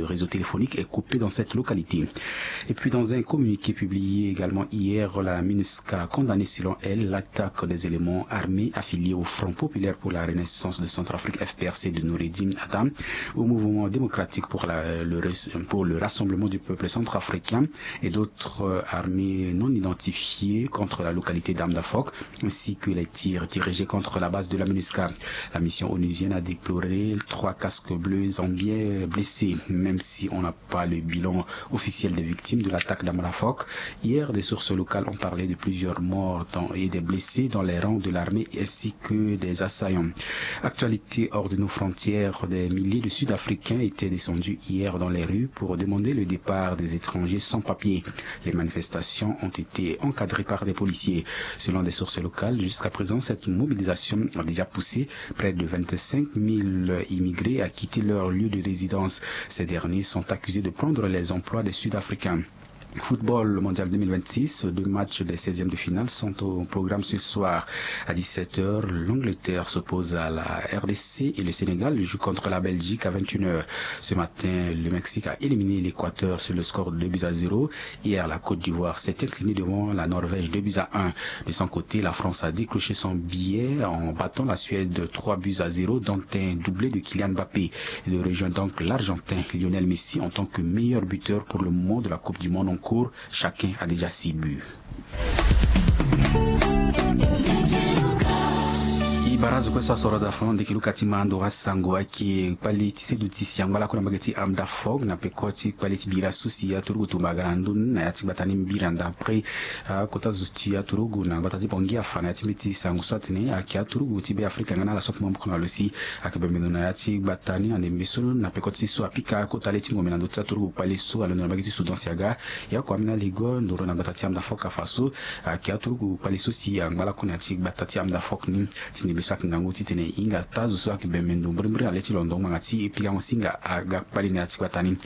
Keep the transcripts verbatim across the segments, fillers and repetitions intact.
Le réseau téléphonique est coupé dans cette localité. Et puis, dans un communiqué publié également hier, la MINUSCA a condamné, selon elle, l'attaque des éléments armés affiliés au Front populaire pour la renaissance de Centrafrique, F P R C, de Noureddine Adam, au Mouvement démocratique pour la, le, pour le rassemblement du peuple centrafricain et d'autres, euh, armées non identifiées contre la localité d'Amdafok, ainsi que les tirs dirigés contre la base de la MINUSCA. La mission onusienne a déploré trois casques bleus zambiens blessés, même si on n'a pas le bilan officiel des victimes de l'attaque d'Amdafok. Hier, des sources locales ont parlé de plusieurs morts dans, et des blessés dans les rangs de l'armée ainsi que des assaillants. Actualité hors de nos frontières, des milliers de Sud-Africains étaient descendus hier dans les rues pour demander le départ des étrangers sans papier. Les manifestations ont été encadrées par des policiers. Selon des sources locales, jusqu'à présent, cette mobilisation a déjà poussé près de vingt-cinq mille immigrés à quitter leur lieu de résidence. Ces derniers sont accusés de prendre les emplois des Sud-Africains. Football, le Mondial deux mille vingt-six, deux matchs des seizièmes de finale sont au programme ce soir. À dix-sept heures, l'Angleterre s'oppose à la R D C et le Sénégal joue contre la Belgique à vingt et une heures. Ce matin, le Mexique a éliminé l'Équateur sur le score de deux buts à zéro. Hier, la Côte d'Ivoire s'est inclinée devant la Norvège deux buts à un. De son côté, la France a décroché son billet en battant la Suède trois buts à zéro, dont un doublé de Kylian Mbappé. Il rejoint donc l'Argentin Lionel Messi en tant que meilleur buteur pour le moment de la Coupe du Monde en cours. Chacun a déjà six buts. E bara zo kue so asoro da fo ndeke luka ti ma ndo asango ayeke kpale ti seduti si angba lakue na mbage ti Amdafok na peko ti kpale ti bira so si aturugu tumba aga na ndö ni na ya ti gbata ni mbiri anda. Après, ah, kota zo ti aturugu na gbata ti Bangui afa na ya ti mbeti sango so atene ayeke aturugu ti Be Afrika nga na ala so akoma maboko na lo si ayeke bembe ndo na ya ti gbata ni na ndembe so na peko ti so apika kota le ti ngombe na ndö ti aturugu kpale so alondo na mbage ti Soudan si aga. Ya kua ambeni aligo ndoro na gbata ti Amdafok afa so ayeke aturugu kpale so si angba lakue na ya ti gbata ti Amdafok ni. Ti ndembe so ayeke ngangu titene e hinga taa zo so ayeke bembe ndo mbirimbiri na le ti londo ngbanga ti e pikango singa aga kpale na ya ti gbata ni.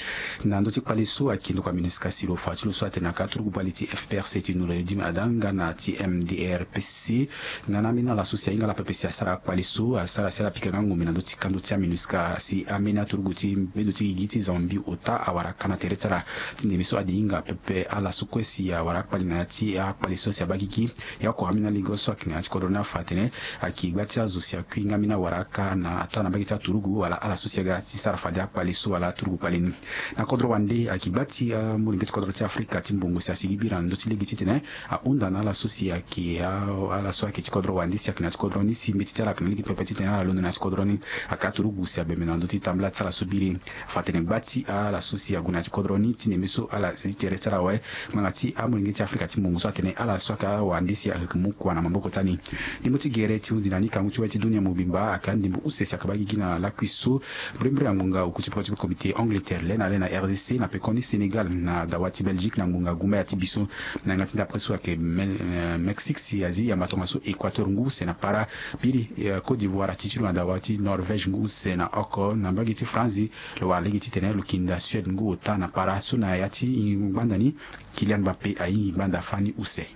Na ndö ti kpale so ayeke ndokua MINUSCA si lo fa ti lo so atene ayeke aturugu kpale ti F P R C ti Noureddine Adam nga na ti M D R P C. Nga na ambeni ala so si ahinga ala pepe si asara kpale so asara si ala pika nga ngombe na ndö ti kando ti aMINUSCA si ambeni aturugu ti bendo ti gigi ti Zambie ota awara aka na tere ti ala. Ti ndembe so ade hinga pepe ala so kue si awara akpale na ya ti akpale so si abaa gigi. Ya oko ambeni aligo so ayeke na ya ti kodro ni afa atene ayeke gba ti azo si akui nga ambeni awara aka na ataa na mbage ti aturugu wala ala so si aga ti sara fade akpale so wala aturugu kpale ni. Na kodro wande ayeke gba ti amolenge ti kodro ti Afrika ti mbongo si asigi bira na ndö ti lege titene ahunda na ala so si ayeke a, ala so ayeke ti kodro wande si ayeke na ya ti kodro ni si mbeti ti ala ayeke na lege pepe titene ala londo na ya ti kodro ni. Ayeke aturugu si abembe na ndö ti tambula ti ala so biri. Fa atene gba ti ala so si ague na ya ti kodro ni ti ndembe so ala si tere ti ala awe. Ngbanga ti amolenge ti Afrika ti mbongo so atene ala so ayeke awande si ayeke mu kua na maboko ti ani. Ndembo ti gere ti hunzi na ni kangu ti wali ti dunia mobimba ayeke andembo use si ayeke baa gigi na lakui so. Mbirimbiri na ngonga oku ti peko ti komite Angleterre le na le na R D C na pekoni Sénégal na dawa ti Belgique na ngonga gumbaya ti biso. Na yanga ti ndapre so ayeke Me-, eh, Mexique si azi yamba tongaso Équateur ngu use na para. Biri, eh, Côte d'Ivoire ati ti lo na dawa ti Norvège ngu use na oko na mbage ti France. Lo wara lege titene lo kinda Suède ngu ota na para so na ya ti ngbanda ni Kylian Mbappé ahingi ngbanda fani use.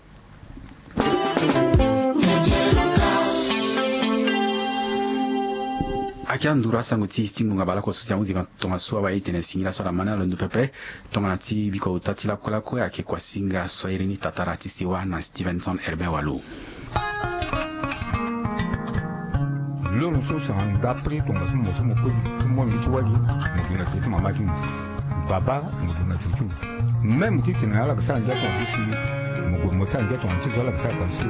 Ayeke anduru asango ti e ti ngonga baleoko so si ahunzi tongaso awe e tene singila so ala ma ni alondo pepe. Tongana ti biko ota ti lakue lakue ayeke kuasinga so airi ni Tatara ti sewa na Stevenson Herbin Walo. Loro so si ahunda pri tongaso mo so mo koli ti molenge ti wali mo gue na tere ti mama ti mo. Baba mo gue na tere ti mo. Même titene ala yeke sara ngia tonga ti si mo gue mo sara ngia tonga ti zo ala yeke sara tonga ti si.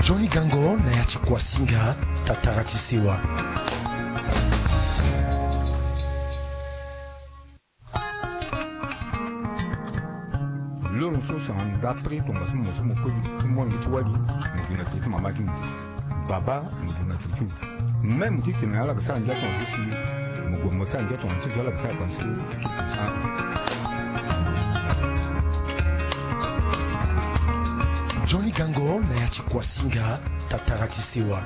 Johnny Gango na ya ti kuasinga Tatara ti sewa. Loro so si ahunda pri tongaso mo so mo koli ti molenge ti wali mo gue na tere ti mama ti mo. Baba mo gue na tere ti mo. Même titene ala yeke sara ngia tonga ti si mo gue mo sara ngia tonga ti zo ala yeke sara tonga ti si. Johnny Gango na ya ti kuasinga Tatara ti sewa.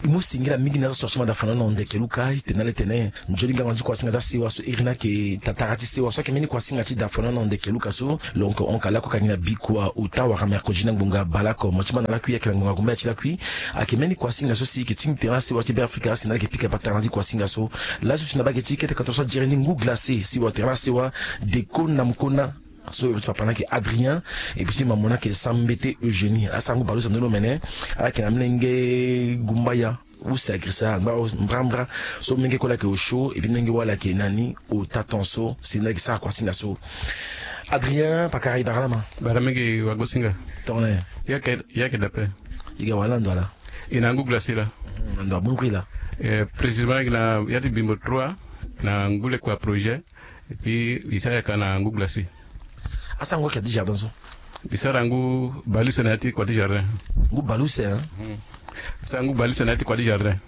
Mu singila mingi na azo so ti ma da fana na ndeke luka, e tene na le tene nzoni gango ti kuasinga ti asewa so iri ni ayeke tatara ti sewa so ayeke mbeni kuasinga ti da fana na ndeke luka so. Lo yeke honka lakue ka gi na bikua ota wala mercredi na ngbonga baleoko. Mo ti ma na lakui ayeke na ngbonga gumbaya ti lakui. Ayeke mbeni kuasinga so si e yeke tingbi tere na sewa ti Beafrika si na ala yeke pika patara na ya ti kuasinga so. Laso si na bage ti kete koto so a jere ni ngu glacé si wa tere na sewa, deko na mokona. So e ti papa ni ayeke Adrien, e puis ti mama ni ayeke Sambete Eugénie. Asara ngu baleuse na ndoni omene. Ala yeke na molenge gumbaya use agrisa angba mbrambra. So molenge kue ala yeke osio, e puis molenge wali ayeke na ni ota tan so si na ala yeke sara kuasinga so. Adrien, pakara e bara lama. Bara mingi wagosinga. Tongana e yeke dape. E ga wala na ndo ala. E na ngu glacé la. Na ndo abongri la. Précisément e yeke na ya ti bimbo trois na ngu lekua projet. Et puis e sara yaka na ngu glacé. Asara ngu ake ya ti jardin so? E sara ngu baleuse na ya ti kua ti jardin. Ngu baleuse hein. Asara ngu baleuse na ya ti kua ti jardin.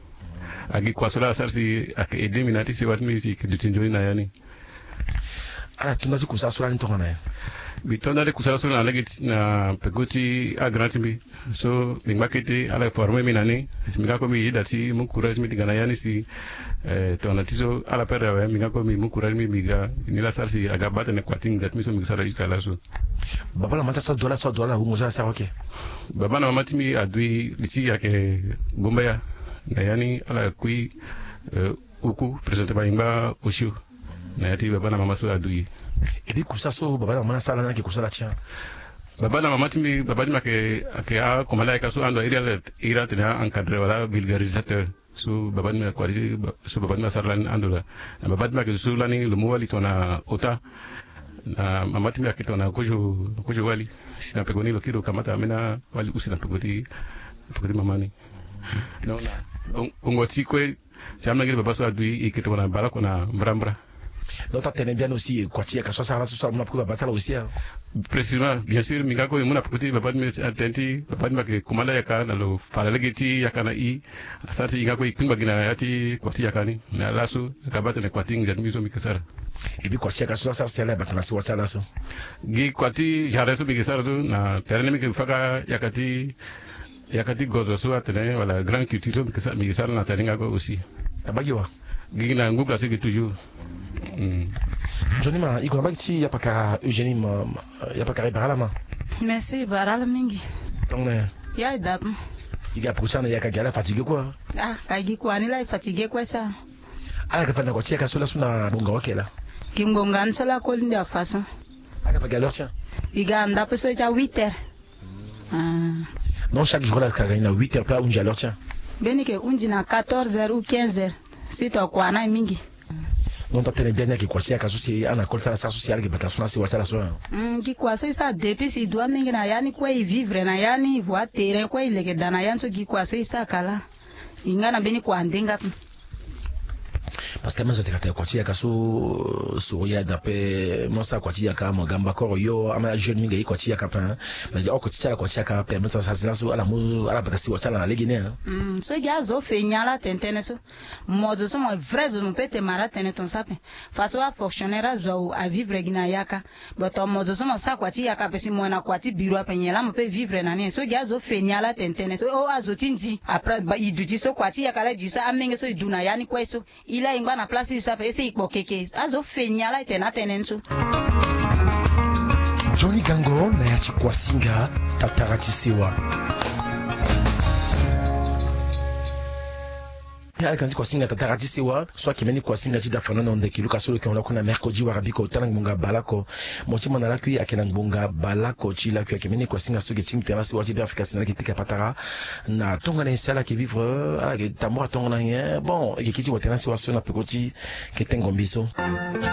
Agi kua so la asara si ayeke aidé mbi na ya ti sewa ti mbi si e yeke duti nzoni na ya ni. Ala tonda ti kusala so lani tongana nyen? Mbi tonda ti kusala so na lege ti na peko ti agrand ti mbi. So mbi ngba kete ala forme mbi na ni. Mbi nga kue mbi yeda ti mu courage mbi ti ga na ya ni si tongana ti so ala perdre awe mbi nga kue mbi mu courage mbi mbi ga. Ni la sara si aga baa tene kua ti nginza ti mbi so mbi sara jusqu'à laso. Baba na mama ti asara dua laso adua ala hungo so ala sara oke. Baba na mama ti mbi adui li ti ayeke gumbaya. Na ya ni ala kui uku présentement e ngba osio. Na ya ti baba na mama so adui. Et puis kusa so baba na mama ni asara lani ayeke kusa ala ti a? Baba na mama ti mbi baba ti mbi ayeke akomanda ayeka so ando iri ala iri ala tene a encadré wala vulgarisateur. So baba ti mbi kua ti so baba ti mbi asara lani ando la. Na baba ti mbi ayeke zo so lani lo mu wali tongana ota. Na mama ti mbi ayeke tongana kozo kozo wali. Si na peko ni lo kiri lo kamata ambeni awali use na peko ti peko ti mama ni. Donc na bongo ti kue. Ti amolenge ti baba so adui e yeke tongana baleoko na mbrambra. Donc ti atene biani aussi kua ti yaka so asara laso so ala mu na peko ti baba ti ala aussi a? Précisément bien sûr mbi nga kue mbi mu na peko ti baba ti mbi atene ti baba ti mbi ayeke komanda yaka na lo fara lege ti yaka na i. Asara si e nga kue e kpingba gi na ya ti kua ti yaka ni. Na laso aga baa tene kua ti nginza ti mbi so mbi yeke sara. E puis kua ti yaka so asara si ala yeke bata na sewa ti ala so? Gi kua ti jardin so mbi yeke sara so na tere ni mbi yeke faka yaka ti yaka ti gozo so atene wala grande culture so mbi yeke sara na tere ni nga kue aussi. Abaa gi wa? Gi na ngu glacé gi toujours. Nzoni ma e gue na mbage ti yapakara Eugénie ma yapakara e bara ala ma. Merci e bara ala mingi. Tongana ya e dape. E ga peko ti ala na yaka gi ala fatigué kue? Ah ka gi kua ni la e fatigué kue sa. Ala yeke fade na kua ti yaka so laso na bonga oke la? Gi ngbonga ni so la koli nde afa so. Ala yeke fa gi à l'heure ti a? E ga na ndape so ti a huit heures. Non chaque jour ala yeke ga ni na huit heures pe ahunzi à l'heure ti a? Mbeni yeke hunzi na quatorze heures ou quinze heures. Si tokua na e mingi. Donc ti atene biani ayeke kua ti yaka so si ala na koli ti ala sara so si ala yeke bata so na sewa ti ala so. Gi kua so e sara depuis si e dua mingi na ya ni kue e vivre na ya ni e voie terrain kue e leke daa na ya ni so gi kua so e sara kala. E nga na mbeni kua ande nga pe. Parce que même zo teka tene kua ti yaka so soro ya dape mo sara kua ti yaka mo ga mbakoro yo ama ya jeune mingi aye kua ti yaka pe. Mais oko ti ti ala kua ti yaka permettre sara si laso ala mu ala bata sewa ti ala na lege ni. So gi azo fe nyen ala tene tënë so? Mo zo so mo vrai zo mo pe te mara tënë ton sape. Faso afonctionnaire azo avivre gi na yaka. Boto mo zo so mo sara kua ti yaka ape si mo na kua ti biro ape nyen laa mo pe vivre na ni nyen so gi azo fe ni ala tene tënë so o azo ti ndi après e duti so kua ti yaka laa e duti so amenge so e du na ya ni kue so. E laa e ngba na place ti e so ape ese e kpo keke azo fe ni ala e tene atënë ni so. Nzoni gango na ya ti kuasinga tatara ti sewa. Ala yeke na ti kuasinga tatara ti sewa so ayeke mbeni kuasinga ti da fana na ndeke luka so lo yeke hon lakue na mercredi wara biko ota na ngbonga baleoko. Mo ti ma na lakui ayeke na ngbonga baleoko ti lakui ayeke mbeni kuasinga so yeke tingbi tene na sewa ti Beafrika si na ala yeke pika patara na tongana nyen si ala yeke vivre ala yeke tambura tongana nyen bon e yeke kiri ti wa tene na sewa so na peko ti kete ngombi so.